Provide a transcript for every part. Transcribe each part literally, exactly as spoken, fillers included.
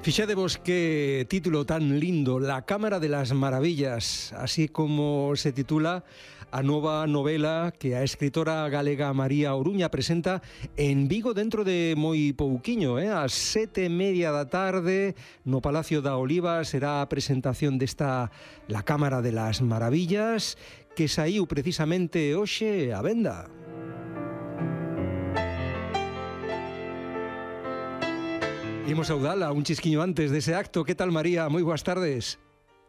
Fixadevos que título tan lindo, La Cámara de las Maravillas, así como se titula a nova novela que a escritora galega María Oruña presenta en Vigo dentro de moi pouquiño, eh? Ás sete e media da tarde no Palacio da Oliva será a presentación desta La Cámara de las Maravillas que saíu precisamente hoxe á venda. Imos saudala un chisquiño antes dese acto. Que tal, María? Moi boas tardes.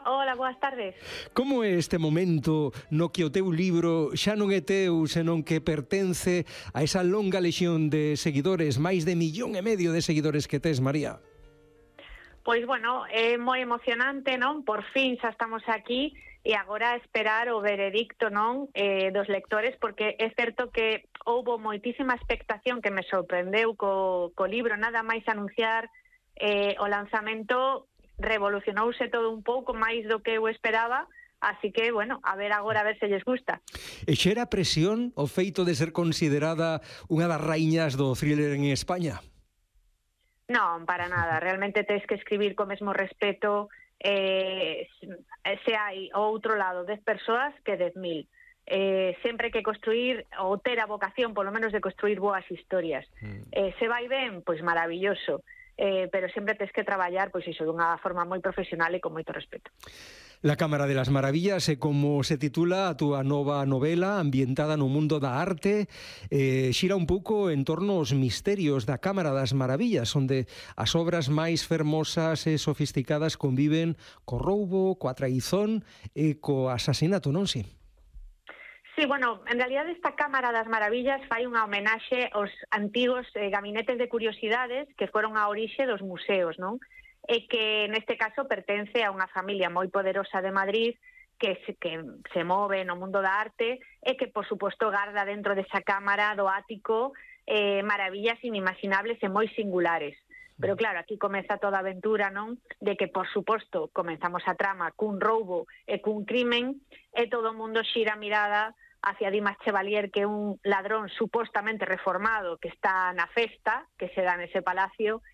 Hola, boas tardes. Como é este momento no que o teu libro xa non é teu, senón que pertence a esa longa lexión de seguidores, máis de millón e medio de seguidores que tes, María? Pois, bueno, é moi emocionante, non? Por fin xa estamos aquí e agora esperar o veredicto, non? Eh, dos lectores, porque é certo que houbo moitísima expectación que me sorprendeu co, co libro, nada máis anunciar eh, o lanzamento, revolucionouse todo un pouco máis do que eu esperaba, así que, bueno, a ver agora a ver se lles gusta. E xera presión o feito de ser considerada unha das raíñas do thriller en España? Non, para nada, realmente tens que escribir co mesmo respeto eh, se hai ao outro lado dez persoas que dez mil. Eh, sempre que construir ou ter a vocación polo menos de construir boas historias. Mm. Eh, se vai ben, pois maravilloso, eh, pero sempre tens que traballar pois iso dunha forma moi profesional e con moito respeto. La Cámara de las Maravillas é como se titula a túa nova novela ambientada no mundo da arte, eh, xira un pouco en torno aos misterios da Cámara das Maravillas, onde as obras máis fermosas e sofisticadas conviven co roubo, coa traizón e co asasinato, non si? Sí, bueno, en realidad esta Cámara das Maravillas fai unha homenaxe aos antigos eh, gabinetes de curiosidades que foron a orixe dos museos, non? E que neste caso pertence a unha familia moi poderosa de Madrid que se, que se move no mundo da arte e que, por suposto, garda dentro desa cámara do ático eh, maravillas inimaginables e moi singulares. Pero claro, aquí comeza toda a aventura, non? De que, por suposto, comenzamos a trama cun roubo e cun crimen e todo o mundo xira a mirada hacia Dimas Chevalier, que é un ladrón supostamente reformado que está na festa que se dá nese palacio,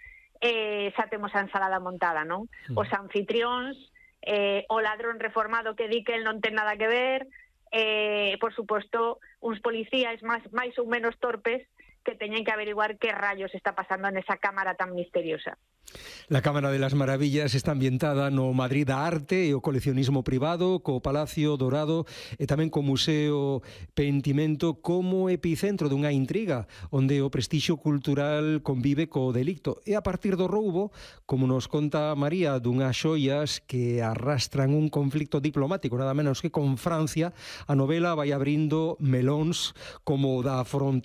e xa temos a ensalada montada, non? Os anfitrións, eh, o ladrón reformado que di que el non ten nada que ver, e, por suposto, uns policías máis, máis ou menos torpes que teñen que averiguar que rayos está pasando nesa cámara tan misteriosa. La Cámara de las Maravillas está ambientada no Madrid da arte e o coleccionismo privado, co Palacio Dorado e tamén co Museo Pentimento como epicentro dunha intriga onde o prestixio cultural convive co delicto. E a partir do roubo, como nos conta María, dunhas xoias que arrastran un conflicto diplomático, nada menos que con Francia, a novela vai abrindo melóns como o da fronteira